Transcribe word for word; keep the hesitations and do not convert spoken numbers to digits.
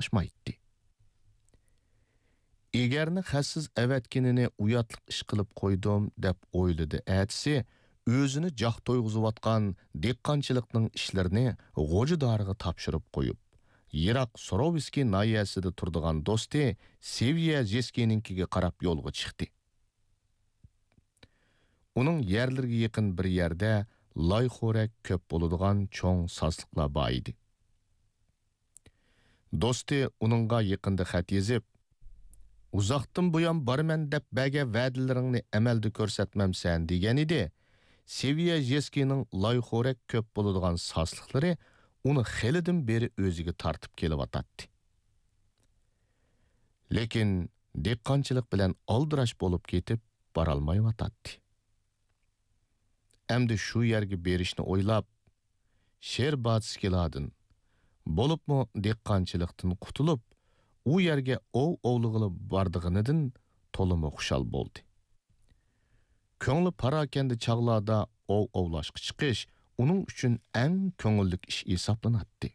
قاتناشمايتتى. ئېگەرنى خەتسىز ئەۋەتكىنىنى ئۇياتلىق ئىش قىلىپ قويدۇم، دەپ ئويلىدى ئەتىسى، ئۆزىنى جاق تويغۇزۇۋاتقان دېھقانچىلىقنىڭ ئىشلىرىنى غوجىدارىغا تاپشۇرۇپ قويۇپ، يىراق سوروۋسكىي ناھىيەسىدە تۇرىدىغان دوستى سېۋىيە ژېسكىنىڭكىگە قاراپ يولغا چىقتى. ئۇنىڭ يەرلىرىگە يېقىن بىر يەردە لايخورەك كۆپ بولىدىغان چوڭ ساسلىقلار بار ئىدى. دوستى ئۇنىڭغا يېقىندا خەت يېزىپ، «ئۇزاقتىن بۇيان بارىمەن دەپ بەرگەن ۋەدىلىرىڭنى ئەمەلدە كۆرسەتمەمسەن» دېگەن ئىدى. سېۋىيە ژېسكىنىڭ لايخورەك كۆپ بولىدىغان ساسلىقلىرى ئۇنى خېلىدىن بېرى ئۆزىگە تارتىپ كېلىۋاتاتتى. لېكىن دېھقانچىلىق بىلەن ئالدىراش بولۇپ كېتىپ بارالمايۋاتاتتى. ئەمدى شۇ يەرگە بېرىشنى ئويلاپ، شېرباتسكىلاردىن، بولۇپمۇ دېھقانچىلىقتىن قۇتۇلۇپ، ئۇ يەرگە ئوۋ ئوۋلىغىلى بارىدىغىنىدىن تولىمۇ خۇشال بولدى. كۆڭلى پاراكەندە چاغلاردا ئوۋ ئوۋلاشقا چىقىش ئۇنىڭ ئۈچۈن ئەڭ كۆڭۈللۈك ئىش ھېسابلىناتتى.